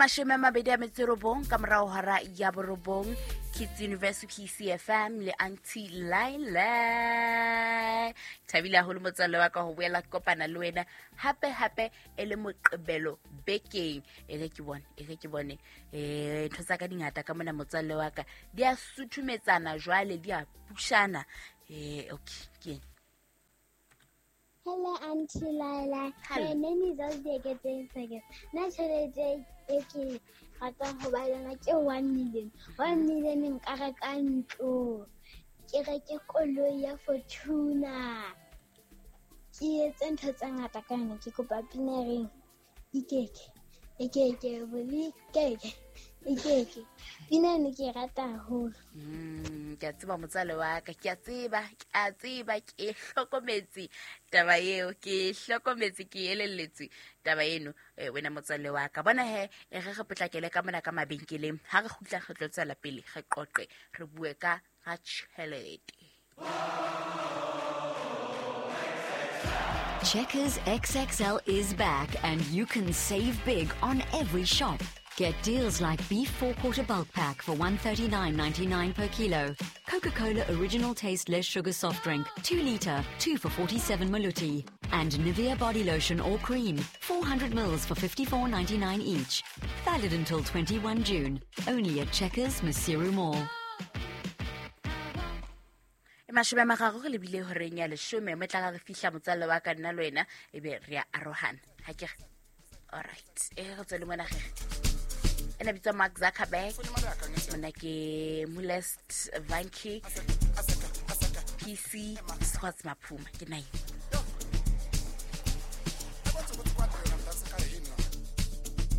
29 ka morago hora ya borobong, Kids University PCFM le Auntie Laila. Thabile haholo motswalle wa ka ho boela ke kopana le wena hape hape e le Moqebelo bekeng. E re ke bone, e re ke bone ntho tsa ka dingata ka mona motswalle wa ka, di a suthumetsana jwale, di a pushana. Okay, ke eng? Hello, Auntie Laila. Hello. My name is Ozbekete Second. Nna tjhelete e ke ratang ho ba yona ke 1 million. 1 million nka reka ntlo, ke reke koloi ya Fortuner, ke etse ntho tse ngata ka yona. Ke kopa pina e reng ikeke ikeke bolikeke ikeke. Pina eno ke e rata haholo. Ke a tseba motswale wa ka, ke a tseba, ke a tseba, ke hlokometse taba eo, ke hlokometse, ke elelletswe taba eno. Wena motswalle wa ka, bona he, e re re potlakele ka mona ka mabenkeleng. Ha re kgutla re tlo tswela pele re qoqe, re bue ka ga tšhelete. Checkers XXL is back and you can save big on every shop. Get deals like beef 4-quarter bulk pack for 139.99 per kilo, Coca-Cola original taste less sugar soft drink, 2 liter, 2 for 47 maluti, and Nivea body lotion or cream, 400 mils for 54.99 each. Valid until 21 June. Only at Checkers Maseru Mall. E 30 re lebile horeng ya 10, mo tla re fihla motswalle wa ka, nna le wena e be re a arohana, ha ke re? Alright, e re tswele mona gege. Ena bitswa Mark Zuckerberg, mona ke Molest Vanki PC Squats Maphuma ke nine.